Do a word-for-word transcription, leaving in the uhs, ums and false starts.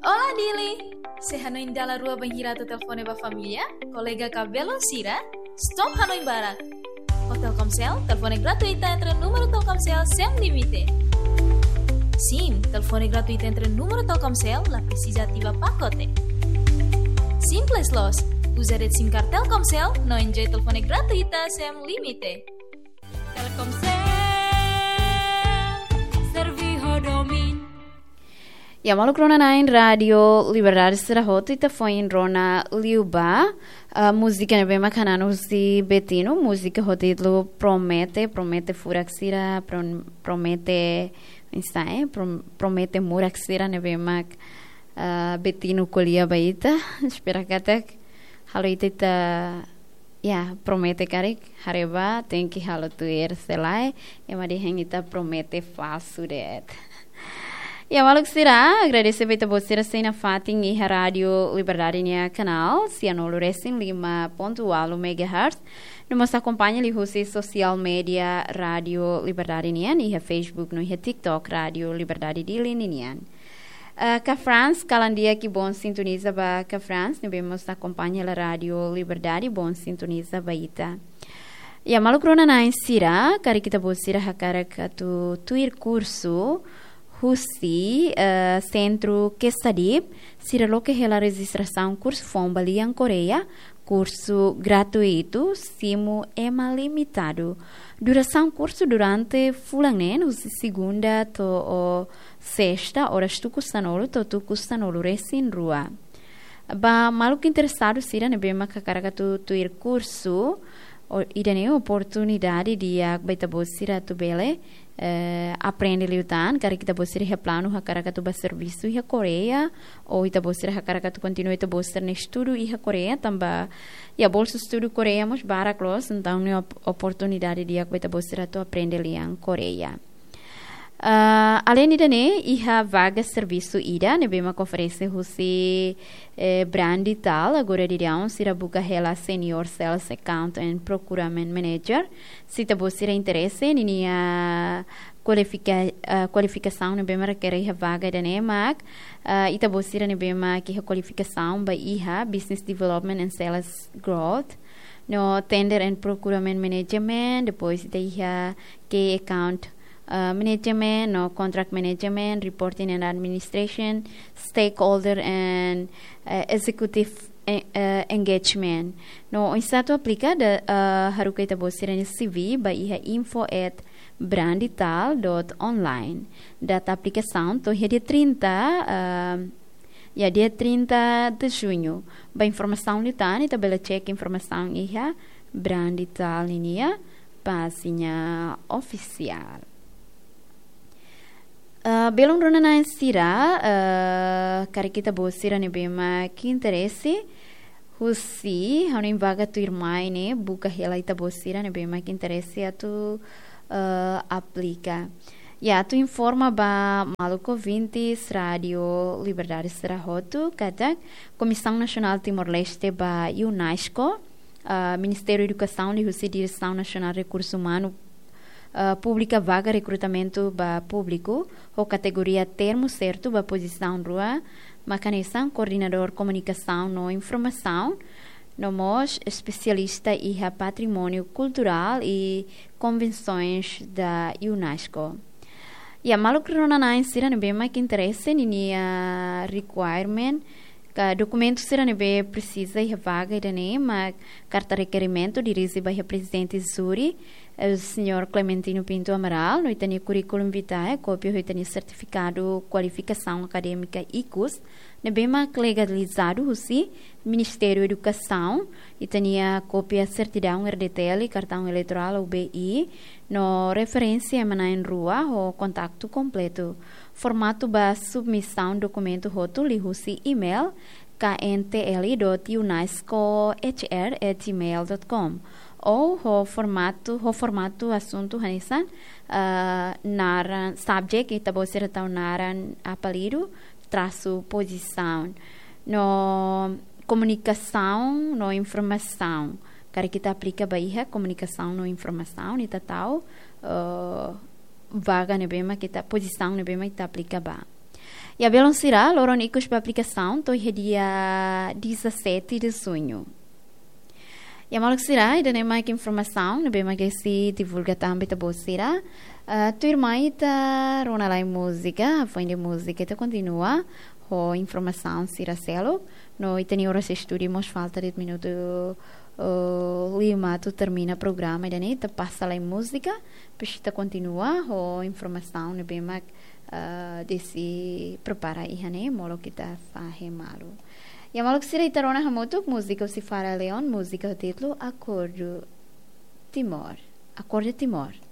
Olá, Dili! Sé hanoin dala rua bainhira atu telefone ba família, kolega ka belun sira, stop hanoin barak. Ho Telkomsel, telefone gratuita entre númeru Telkomsel sem limite. Sim, telefone gratuita entre númeru Telkomsel, la presiza ativa pakote. Simples loos, uza de'it SIM card Telkomsel, no enjoy telefone gratuita sem limite. Telkomsel, servi ho domin. Ya, maluk rona na'in Rádio Liberdade sira hotu, ita foin rona liu ba, ah, múzika ne'ebé mak hanan husi Betinho, múzika ho títulu Promete, Promete furak sira, prom-, promete, oinsá, eh, prom-, promete murak sira ne'ebé mak, ah, Betinho ko'alia ba ita, espera katak halo ita, ita Ya, promete karik, haree ba, tenke halo tuir, se lae, ema dehan ita promete falsu de'it. Ya, maluk sira, agradese ba ita-boot sira sei nafatin iha Rádio Liberdade nia kanál, sianulu resin lima pontu ualu megahertz. No mós akompaña liuhusi sosiál média Rádio Liberdade nian, iha Facebook no iha TikTok Rádio Liberdade Dili ninian. Ah, Cafrans, kalan di'ak, bom sintoniza ba Cafrans, ne'ebé mós akompaña hela Rádio Liberdade, bom sintoniza ba ita. Ya, maluk rona na'in sira, karik ita-boot sira hakarak atu tuir kursu husi, eh, Sentru Quesadhip, sira loke hela rejistrasaun kursu foun ba lian Koreia, kursu gratuitu, simu ema limitadu. Durasaun kursu durante fulan neen, husi segunda to'o sesta, oras tuku sanulu to'o tuku sanulu resin rua. Ba maluk interesadu sira ne'ebé mak hakarak atu tuir kursu, o, ida-ne'e oportunidade di'ak ba ita-boot sira atu bele, eh, aprende liután, karik ita-boot sira iha planu hakarak atu bá servisu iha Koreia, ou ita-boot sira hakarak atu kontinua ita-boot sira-nia estudu iha Koreia, tanba, ya, bolsu estudu Koreia mós barak loos, entaun ne'e op-, oportunidade di'ak ba ita-boot sira atu aprende lian Koreia. Ah, aleinde ida-ne'e, iha vaga servisu ida ne'ebé mak oferese husi, eh, Brandital, agora daudaun sira buka hela Senior Sales Account and Procurement Manager. Se ita-boot sira interese, ninia kualifika-, ah, kualifikasaun ne'ebé mak rekere iha vaga ida-ne'e mak, ah, ita-boot sira ne'ebé mak iha kualifikasaun ba iha Business Development and Sales Growth, no Tender and Procurement Management, depois ita iha Key Account, ah, Management, no Contract Management, Reporting and Administration, Stakeholder and, eh, Executive, eh, eh, Engagement. No oinsá atu aplika, da, ah, haruka ita-boot sira-nia C V ba iha info at brandital dot online. Data aplikasaun to'o iha dia trinta, ah, ya, dia trinta de junho. Ba informasaun liután, ita bele cek informasaun iha Brandital ninia pájina ofisiál. Ah, belun rona na'in sira, ah, karik ita-boot sira ne'ebé mak interese husi hanoin vaga tuirmai ne'e, buka hela ita-boot sira ne'ebé mak interese atu, ah, aplika. Ya, atu informa ba maluk ouvintes Rádio Liberdade sira hotu katak Komisaun Nasionál Timor-Leste ba UNESCO, ah, Ministériu Edukasaun liuhusi Diresaun Nasionál Rekursu Umanu, ah, publika vaga rekrutamentu ba públiku ho kategoria termu sertu ba pozisaun rua, mak hanesan Koordenadór Komunikasaun no Informasaun, no mós Espesialista iha Patrimóniu Kulturál i Konvensoens da UNESCO. Ya, maluk rona na'in sira ne'ebé mak interese, ninia requirement ka dokumentu sira ne'ebé presiza iha vaga ida-ne'e mak karta rekerimentu dirije ba iha Prezidente Júri, eh, Señór Clementino Pinto Amaral, no ita-nia currículum vitae, kópia ho ita-nia sertifikadu kualifikasaun akadémika ikus, ne'ebé mak legalizadu husi Ministériu Edukasaun, ita-nia kópia sertidaun R D T L, kartaun eleitorál ou B I, no referénsia ema na'in rua ho kontaktu kompletu. Formatu ba submisaun dokumentu hotu liuhusi email K N T L dot UNESCO H R at gmail dot com. Ou ho formatu, ho formatu asuntu hanesan, ah, naran, subject, ita-boot sira tau naran, apelidu, trasu pozisaun. No komunikasaun no informasaun. Karik ita aplika ba iha komunikasaun no informasaun, ita tau, eh, vaga ne'ebé mak ita, pozisaun ne'ebé mak ita aplika ba. Ya, belun sira, loron ikus ba aplikasaun to'o iha dia dezassete de junho. Ya, maluk sira, ida-ne'e mak informasaun ne'ebé mak Desi divulga tan ba ita-boot sira. Ah, tuirmai ita rona lai múzika, hafoin de múzika ita kontinua ho informasaun sira seluk. No ita-nia oras estúdiu mós falta de'it minutu, oh, lima atu termina programa ida-ne'e, ita pasa lai múzika, depois ita kontinua ho informasaun ne'ebé mak, ah, Desi prepara iha ne'e, molok ita fahe malu. Ya, maluk sira, ita rona hamutuk múzika husi Farah Leon, múzika ho títulu Acordo Timor. Acordo Timor.